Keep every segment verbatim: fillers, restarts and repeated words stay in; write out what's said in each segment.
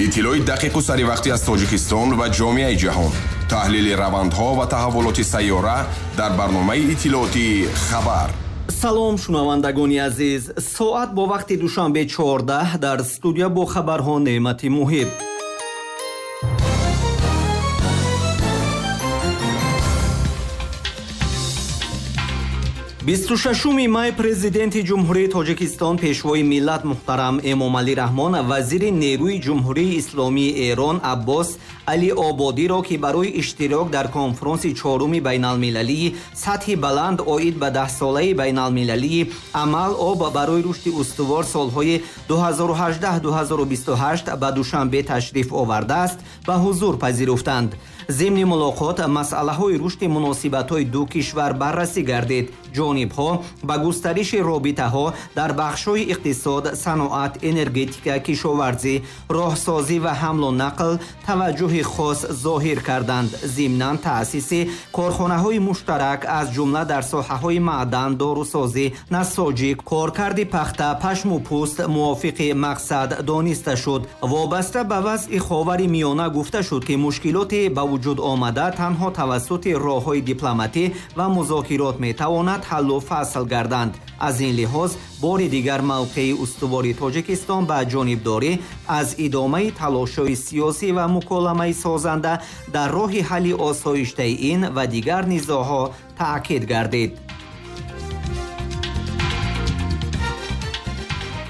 Иттилои дақиқу саривақтӣ аз Тоҷикистон ва ҷомеаи ҷаҳон, таҳлили равандҳо ва таҳаввулоти сайёра дар барномаи иттилоотии «Хабар». Салом, шунавандагони азиз. Соат бо вақти Душанбе чордаҳ, дар студия бо хабарҳо Неъмати Муҳиб. бисту шашуми май Президенти Ҷумҳурии Тоҷикистон, Пешвои миллат муҳтарам Эмомалӣ Раҳмон вазири нерӯи Ҷумҳурии Исломии Эрон Аббос Али Ободиро, ки барои иштирок дар конфронси чоруми байналмилалии сатҳи баланд оид ба даҳсолаи байналмилалии амал об барои рушди устувор солҳои ду ҳазору ҳаждаҳ ду ҳазору бисту ҳашт ба Душанбе ташриф овардааст, ба ҳузур пазируфтанд. Зимни мулоқот масъалаҳои рушди муносибатҳои ду кишвар баррасӣ гардид. Ҷонибҳо ба густариши робитаҳо дар бахшҳои иқтисод, саноат, энергетика, кишоварзӣ, роҳсозӣ ва ҳамлу нақл таваҷҷӯҳи хос зоҳир карданд. Зимнан таъсиси корхонаҳои муштарак, аз ҷумла дар соҳаҳои маъдан, дорусозӣ, насоҷӣ, коркарди пахта, пашму пӯст мувофиқи мақсад дониста шуд. Вобаста ба вазъи Ховари Миёна гуфта шуд, ки мушкилоти ба вуҷуд омада танҳо тавассути роҳҳои дипломатӣ ва музокирот метавонад ҳаллу фасл гарданд. Аз ин лиҳоз бори дигар мавқеи устувори Тоҷикистон ба ҷонибдорӣ аз идомаи талошҳои сиёсӣ ва муколамаи созанда дар роҳи ҳалли осоиштаи ин ва дигар низоъҳо таъкид гардид.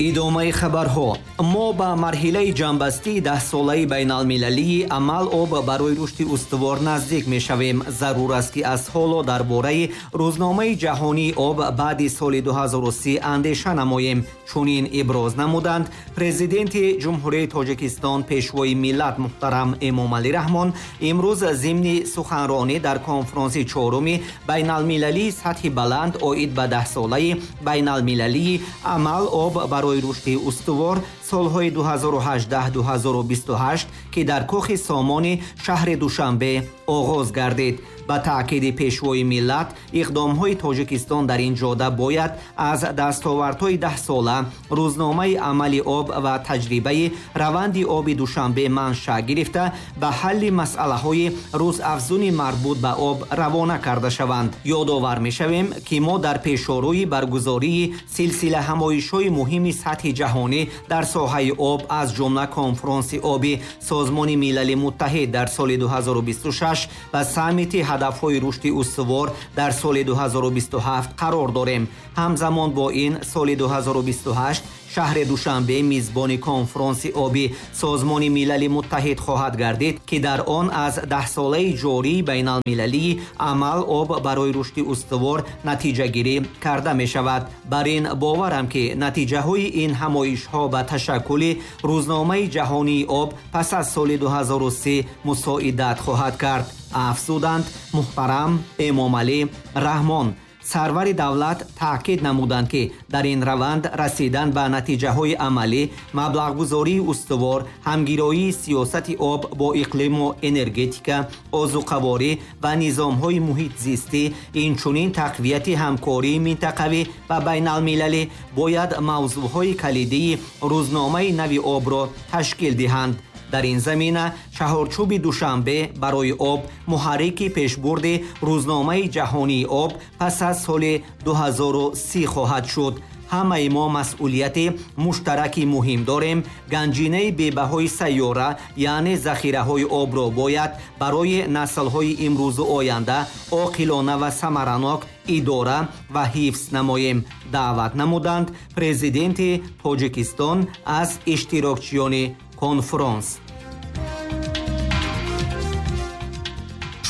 Идомаи хабарҳо. Мо ба марҳилаи ҷамъбастии даҳсолаи байналмилалии амал об барои рушди устувор наздик мешавем. Зарур аст, ки аз ҳоло дар бораи рӯзномаи ҷаҳонии об баъди соли ду ҳазору си андеша намоем. Чунин иброз намуданд Президенти Ҷумҳурии Тоҷикистон, Пешвои миллат муҳтарам Эмомалӣ Раҳмон имрӯз зимни суханронӣ дар конфронси чоруми байналмилалии сатҳи баланд оид ба даҳсолаи байналмилалии амал об барои рушди устувор солҳои ду ҳазору ҳаждаҳ ду ҳазору бисту ҳашт, ки дар кохи Сомони шаҳри Душанбе оғоз гардид. Ба таъкиди Пешвои миллат, иқдомҳои Тоҷикистон дар ин ҷода бояд аз дастовардҳои даҳсола, рӯзномаи амали об ва таҷрибаи раванди оби Душанбе манша гирифта, ба ҳалли масъалаҳои рӯзафзуни марбут ба об равона карда шаванд. Ёдовар мешавем, ки мо дар пешорӯи баргузории силсила ҳамоишҳои муҳими сатҳи ҷаҳонӣ дар соҳаи об, аз ҷумла конфронси оби Созмони Милали Муттаҳид дар соли ду ҳазору бисту шаш ва саммити ҳадафҳои рушди устувор дар соли ду ҳазору бисту ҳафт қарор дорем. Ҳамзамон бо ин соли ду ҳазору бисту ҳашт шаҳри Душанбе мизбони конфронси оби Созмони Милали Муттаҳид хоҳад гардид, ки дар он аз даҳсолаи ҷории байналмилалии амал об барои рушди устувор натиҷагирӣ карда мешавад. Бар ин боварам, ки натиҷаҳои ин ҳамоишҳо ба ташаккули рӯзномаи ҷаҳонии об пас аз соли ду ҳазору си мусоидат хоҳад кард, афзуданд муҳтарам Эмомалӣ Раҳмон. Сарвари давлат таъкид намуданд, ки дар ин раванд расидан ба натиҷаҳои амалӣ, маблағгузории устувор, ҳамгироии сиёсати об бо иқлиму энергетика, озуқаворӣ ва низомҳои муҳитзистӣ, инчунин тақвияти ҳамкории минтақавӣ ва байналмилалӣ бояд мавзӯъҳои калидии рӯзномаи нави обро ташкил диҳанд. Дар ин замина чаҳорчӯби Душанбе барои об муҳаррики пешбурди рӯзномаи ҷаҳонии об пас аз соли ду ҳазору си хоҳад шуд. Ҳамаи мо масъулияти муштараки муҳим дорем. Ганҷинаи бебаҳои сайёра, яъне захираҳои обро бояд барои наслҳои имрӯзу оянда оқилона ва самаранок идора ва ҳифз намоем, даъват намуданд Президенти Тоҷикистон аз иштирокчиёни конфронс.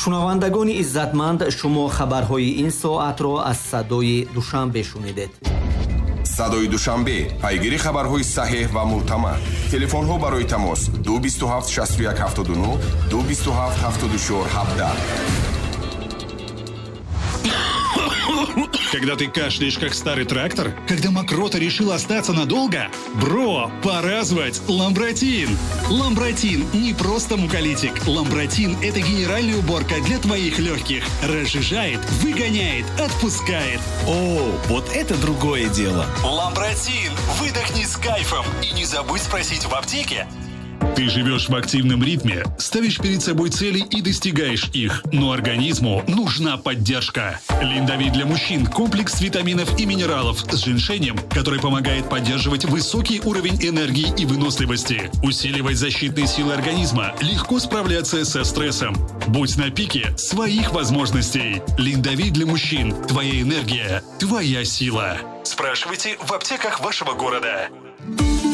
Шунавандагони иззатманд, шумо хабарҳои ин соатро аз Садои Душанбе шунидед. Садои Душанбе, пайгири хабарҳои саҳеҳ ва мӯътамад. Телефонҳо барои тамос ду бисту ҳафт шасту як ҳафтоду нӯҳ, ду бисту ҳафт ҳафтоду чор ҳабдаҳ. Когда ты кашляешь, как старый трактор? Когда мокрота решила остаться надолго? Бро, пора звать Ламбратин! Ламбратин не просто муколитик. Ламбратин – это генеральная уборка для твоих легких. Разжижает, выгоняет, отпускает. О, вот это другое дело! Ламбратин! Выдохни с кайфом! И не забудь спросить в аптеке. Ты живешь в активном ритме, ставишь перед собой цели и достигаешь их, но организму нужна поддержка. Линдовит для мужчин – комплекс витаминов и минералов с женьшенем, который помогает поддерживать высокий уровень энергии и выносливости, усиливать защитные силы организма, легко справляться со стрессом. Будь на пике своих возможностей. Линдовит для мужчин – твоя энергия, твоя сила. Спрашивайте в аптеках вашего города.